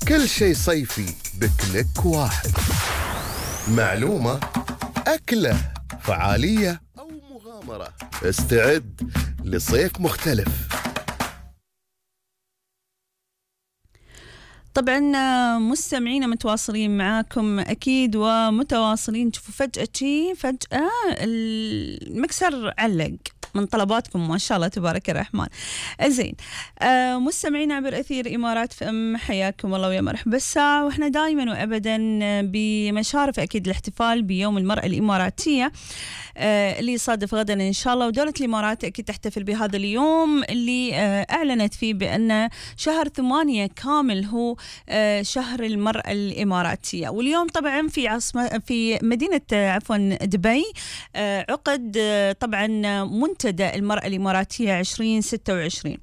كل شيء صيفي بكليك واحد. معلومة، أكلة، فعالية أو مغامرة، استعد لصيف مختلف. طبعا مستمعينا متواصلين معاكم أكيد ومتواصلين. شوفوا فجأة المكسر علق من طلباتكم ما شاء الله تبارك الرحمن. زين، مستمعين عبر أثير إمارات FM، حياكم الله ويا مرحبا بالساعة. وإحنا دائما وأبدا بمشارف أكيد الاحتفال بيوم المرأة الإماراتية اللي يصادف غدا إن شاء الله. ودولة الإمارات أكيد تحتفل بهذا اليوم اللي أعلنت فيه بأن شهر 8 كامل هو شهر المرأة الإماراتية. واليوم طبعا في مدينة دبي عقد طبعا منتدى المرأة الإماراتية 2026.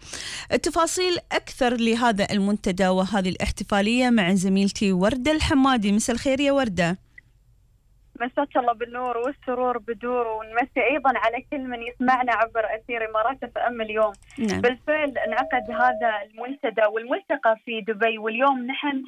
التفاصيل أكثر لهذا المنتدى وهذه الاحتفالية مع زميلتي وردة الحمادي. مساء الخير يا وردة. مساك الله بالنور والسرور بدور، ونمسي أيضا على كل من يسمعنا عبر أثير إمارات FM اليوم. نعم. بالفعل انعقد هذا المنتدى والملتقى في دبي، واليوم نحن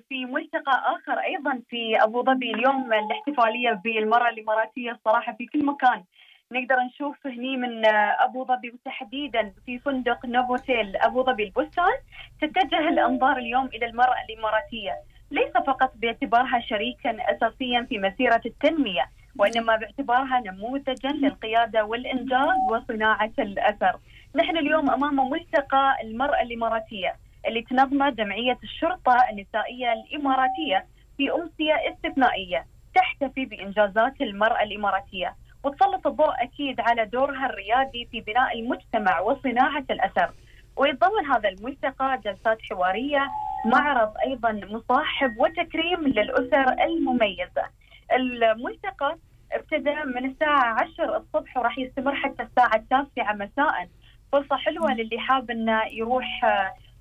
في ملتقى آخر أيضا في أبو ظبي. اليوم الاحتفالية بالمرأة الإماراتية الصراحة في كل مكان نقدر نشوف هني من أبو ظبي، وتحديدا في فندق نوفوتيل أبو ظبي البستان. تتجه الأنظار اليوم إلى المرأة الإماراتية، ليس فقط باعتبارها شريكا أساسيا في مسيرة التنمية، وإنما باعتبارها نموذجا للقيادة والإنجاز وصناعة الأثر. نحن اليوم أمام ملتقى المرأة الإماراتية اللي تنظمه جمعية الشرطة النسائية الإماراتية في أمسية استثنائية تحتفي بإنجازات المرأة الإماراتية، وتسلط الضوء أكيد على دورها الريادي في بناء المجتمع وصناعة الأثر. ويتضمن هذا الملتقى جلسات حوارية، معرض أيضا مصاحب وتكريم للأسر المميزة. الملتقى ابتدأ من الساعة 10 الصبح وراح يستمر حتى الساعة 9 مساء. فرصة حلوة للي حاب انه يروح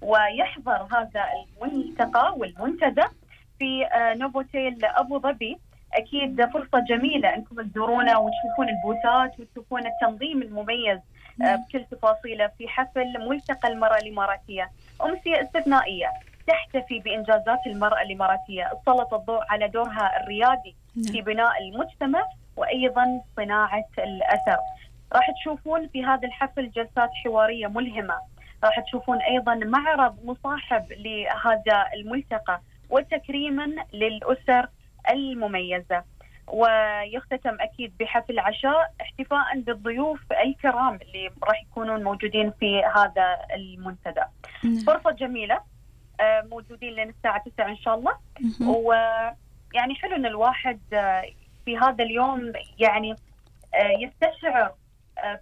ويحضر هذا الملتقى والمنتدى في نوفوتيل أبو ظبي. أكيد فرصة جميلة أنكم تزورونا وتشوفون البوثات وتشوفون التنظيم المميز بكل تفاصيله في حفل ملتقى المرأة الإماراتية. أمسية استثنائية تحتفي بإنجازات المرأة الإماراتية، تسلط الضوء على دورها الريادي في بناء المجتمع وأيضا صناعة الأثر. راح تشوفون في هذا الحفل جلسات حوارية ملهمة، راح تشوفون أيضا معرض مصاحب لهذا الملتقى وتكريما للأسر المميزة، ويختتم أكيد بحفل عشاء احتفاء بالضيوف الكرام اللي راح يكونون موجودين في هذا المنتدى. فرصة جميلة، موجودين لين الساعة 9 إن شاء الله. ويعني حلو أن الواحد في هذا اليوم يعني يستشعر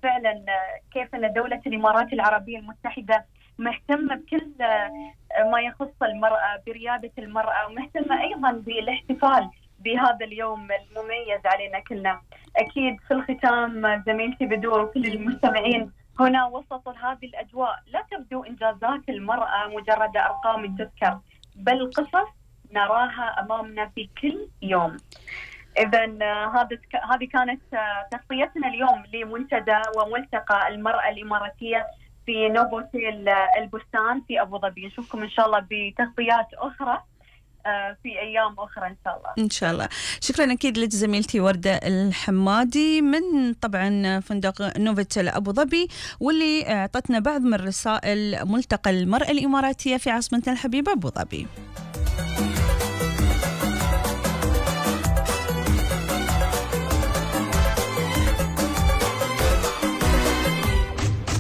فعلا كيف أن دولة الإمارات العربية المتحدة مهتمة بكل ما يخص المرأة، بريادة المرأة، ومهتمة أيضا بالاحتفال بهذا اليوم المميز علينا كلنا. أكيد في الختام زميلتي بدور وكل المستمعين هنا وسط هذه الأجواء لا تبدو إنجازات المرأة مجرد أرقام تذكر، بل قصص نراها أمامنا في كل يوم. إذن هذه كانت تغطيتنا اليوم لمنتدى وملتقى المرأة الإماراتية في نوفوتيل البستان في أبو ظبي. نشوفكم إن شاء الله بتغطيات أخرى في أيام أخرى إن شاء الله. إن شاء الله. شكرا أكيد لك زميلتي وردة الحمادي من طبعا فندق نوفوتيل أبو ظبي، واللي أعطتنا بعض من رسائل ملتقى المرأة الإماراتية في عاصمتنا الحبيبة أبو ظبي.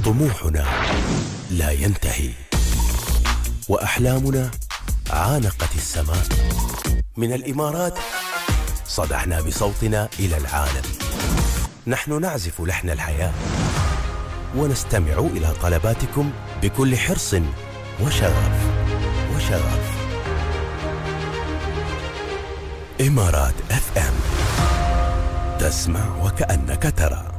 طموحنا لا ينتهي، وأحلامنا عانقت السماء. من الإمارات صدحنا بصوتنا إلى العالم. نحن نعزف لحن الحياة ونستمع إلى طلباتكم بكل حرص وشغف. إمارات FM، تسمع وكأنك ترى.